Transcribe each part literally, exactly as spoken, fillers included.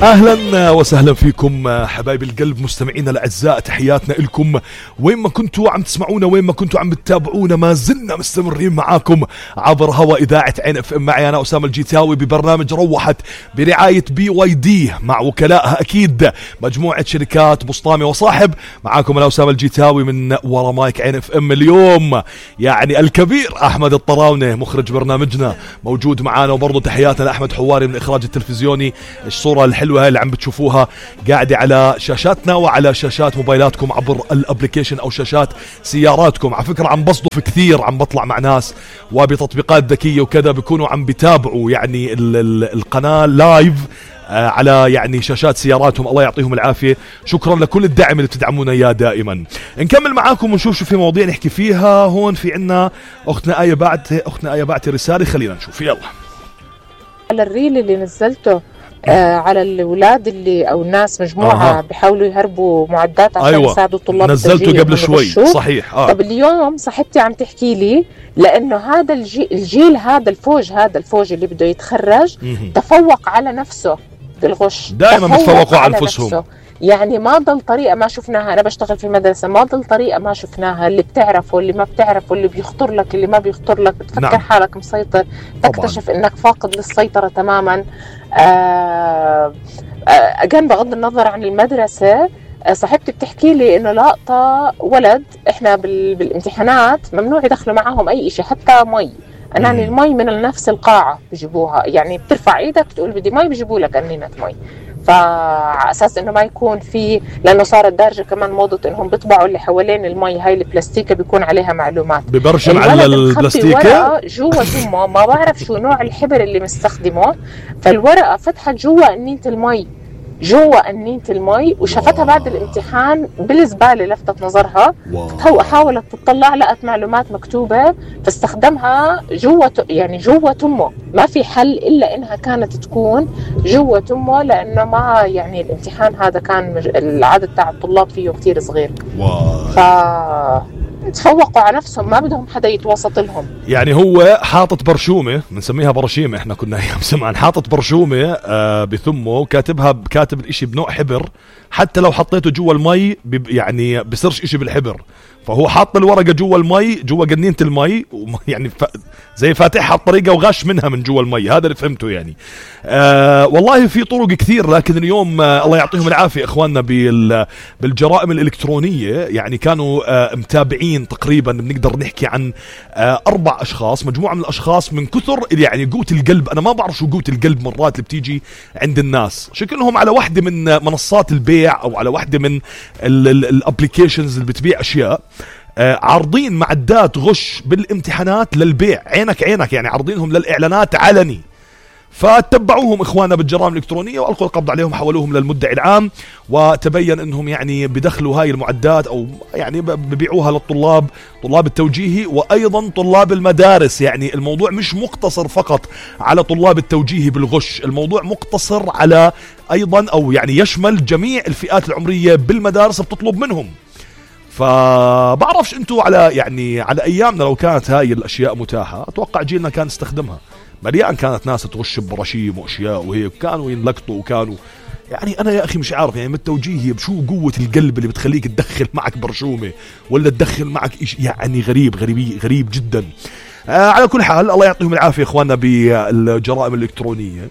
أهلا وسهلا فيكم حبايب القلب مستمعينا الأعزاء، تحياتنا لكم وين ما كنتوا عم تسمعونا، وين ما كنتوا عم تتابعونا، ما زلنا مستمرين معاكم عبر هوا إذاعة عين اف ام. معي أنا أسامة الجيتاوي ببرنامج روحت برعاية بي واي دي مع وكلائها أكيد مجموعة شركات بسطامي وصاحب. معاكم أنا أسامة الجيتاوي من ورا مايك عين اف ام. اليوم يعني الكبير أحمد الطراونة مخرج برنامجنا موجود معانا، وبرضه تحياتنا لأحمد حواري من الإخراج التلفزيوني. الصورة الحلوة هاي اللي عم بتشوفوها قاعدة على شاشاتنا وعلى شاشات موبايلاتكم عبر الابليكيشن او شاشات سياراتكم. على فكرة عم بصدف كثير، عم بطلع مع ناس وبتطبيقات ذكية وكذا بيكونوا عم بيتابعوا يعني ال ال القناة لايف آه على يعني شاشات سياراتهم. الله يعطيهم العافية، شكرا لكل الدعم اللي بتدعمونا اياه دائما. نكمل معاكم ونشوف شو في مواضيع نحكي فيها. هون في عنا اختنا آية بعتي اختنا آية بعتي رسالة، خلينا نشوف. يلا على الريل اللي نزلته آه على الأولاد اللي أو الناس مجموعة آه. بيحاولوا يهربوا معدات عشان أيوة. يساعدوا الطلاب. نزلته قبل شوي صحيح. آه. طب اليوم صاحبتي عم تحكي لي لأنه هذا الجيل, الجيل هذا الفوج هذا الفوج اللي بده يتخرج م-م. تفوق على نفسه بالغش، دائما بتفوقوا على أنفسهم نفسه. يعني ما ضل طريقة ما شفناها. أنا بشتغل في المدرسة، ما ضل طريقة ما شفناها. اللي بتعرف واللي ما بتعرف واللي بيخطر لك اللي ما بيخطر لك، بتفكر نعم. حالك مسيطر، تكتشف طبعاً. إنك فاقد للسيطرة تماماً. آه آه بغض النظر عن المدرسة، آه صاحبتي بتحكي لي إنه لقطة ولد إحنا بالامتحانات ممنوع يدخلوا معهم أي إشي حتى مي. أنا يعني المي من نفس القاعة بيجيبوها، يعني بترفع إيدك بتقول بدي مي بيجيبوا لك قنينة مي. فعلى اساس انه ما يكون في، لانه صارت دارجه كمان موضه انهم بيطبعوا اللي حوالين المي هاي البلاستيكه بيكون عليها معلومات. ببرشم على البلاستيكه جوا تمه، ما بعرف شو نوع الحبر اللي مستخدمه، فالورقه فتحت جوا قنينه المي، جوا قنينه المي، وشافتها بعد الامتحان بالزباله لفتت نظرها. هو حاولت تطلع لقت معلومات مكتوبه فاستخدمها جوا، يعني جوا تمه. ما في حل الا انها كانت تكون جوا تمه، لانه ما يعني الامتحان هذا كان مج... العدد تاع الطلاب فيه كتير صغير. ف تفوقوا على نفسهم، ما بدهم حدا يتوسط لهم. يعني هو حاطط برشومه، بنسميها برشيمه احنا كنا ايام زمان، حاطط برشومه آه بثمه، كاتبها كاتب الاشي بنوع حبر، حتى لو حطيته جوا المي يعني بصيرش اشي بالحبر. فهو حاط الورقه جوا المي، جوا قنينه المي، يعني ف... زي فاتحها بطريقه وغش منها من جوا المي. هذا اللي فهمته يعني. آه والله في طرق كثير، لكن اليوم آه الله يعطيهم العافيه اخواننا بال... بالجرائم الالكترونيه، يعني كانوا آه متابعين تقريبا بنقدر نحكي عن آه اربع اشخاص، مجموعه من الاشخاص من كثر يعني قوه القلب. انا ما بعرف شو قوه القلب مرات اللي بتيجي عند الناس، شكلهم على واحده من منصات البيع او على واحده من الابليكيشنز اللي بتبيع اشياء، آه عارضين معدات غش بالامتحانات للبيع، عينك عينك يعني عارضينهم للإعلانات علني. فتبعوهم إخواننا بالجرائم الإلكترونية وألقوا القبض عليهم، حولوهم للمدعي العام، وتبين أنهم يعني بدخلوا هاي المعدات أو يعني ببيعوها للطلاب، طلاب التوجيهي وأيضا طلاب المدارس. يعني الموضوع مش مقتصر فقط على طلاب التوجيهي بالغش، الموضوع مقتصر على أيضا أو يعني يشمل جميع الفئات العمرية بالمدارس بتطلب منهم. فبعرفش انتوا على يعني على ايامنا لو كانت هاي الاشياء متاحة، اتوقع جيلنا كان استخدمها. مليان كانت ناس تغش ببراشيم واشياء وهيك، كانوا ينلقطوا وكانوا يعني انا يا اخي مش عارف يعني بالتوجيهي بشو قوة القلب اللي بتخليك تدخل معك برشومة ولا تدخل معك إشي، يعني غريب غريب غريب جدا. آه على كل حال الله يعطيهم العافية اخواننا بالجرائم الالكترونية.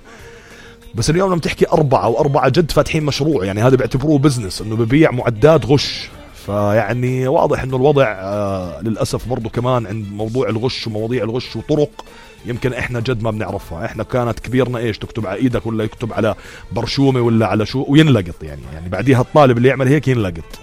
بس اليوم لما تحكي اربعة واربعة جد فاتحين مشروع، يعني هذا بيعتبروه بزنس، انه ببيع معدات غش. فيعني واضح انه الوضع آه للأسف برضو كمان عند موضوع الغش ومواضيع الغش وطرق يمكن احنا جد ما بنعرفها. احنا كانت كبيرنا ايش، تكتب على ايدك ولا يكتب على برشومة ولا على شو وينلقط، يعني يعني بعديها الطالب اللي يعمل هيك ينلقط.